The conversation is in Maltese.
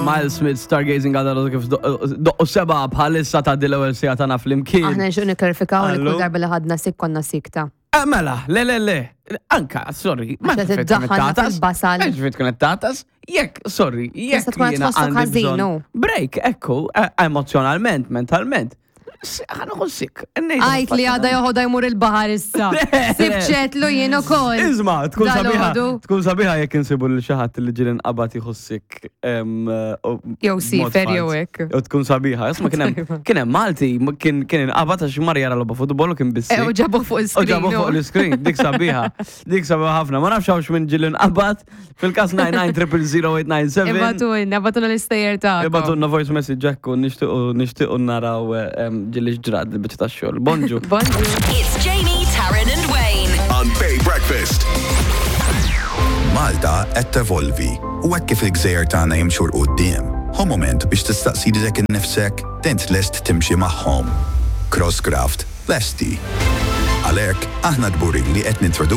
Miles Smith Stargazing għadha l kif doqqu seba bħalissa ta' dil-ewwel sija tagħna flimkien. Aħna nxuq niklarifikaw li Allo? kull darba li ħadna sik konna sikta. Eh, Mela, le, le, le, anka, sorry, ma Għax qed iddaħħalna fil-basal. Mhux fit tkun qed tatas, jekk, sorry, jekk Tista' tkun qed jiena tħossok għandi ħażin, bżonn u. Break, ekku, eh, emozjonalment, mentalment. Ħa sik. Għajt li għada joħodha jmur il-baħar issa. Sibċetlu jien ukoll. Izma, tkun sabiħa. Dal-għodu. Tkun sabiħa jekk insibu lil xi ħadd li ġieli nqabad jieħu sik. Jew sifer jew hekk. Jew tkun sabiħa. Isma' kien hemm kien hemm Malti kien kien inqabad għax mar jara logħba futbol u kien Eh, bissik. U ġabu fuq U il-screen. ġabu fuq l-screen, dik sabiħa. Dik sabiħa ħafna. Ma nafx hawnx minn ġieli nqabad fil-każ 99 Ibatulna, ibatulna l-istejjer ta' Ibatunna voice message ekku, nixtiequ nixtiequ naraw ġieli x'ġrad il-biċċa tax-xogħol. Bonġu. Bonġu. It's Jamie, Taryn, and Wayne. On Bay Breakfast. Malta qed tevolvi u hekk kif il-gżejjer tagħna jimxu 'l quddiem, hu mument biex tistaqsi lilek innifsek int lest timxi magħhom. Crosscraft lesti. Għalhekk aħna kburin li qed nintroduċu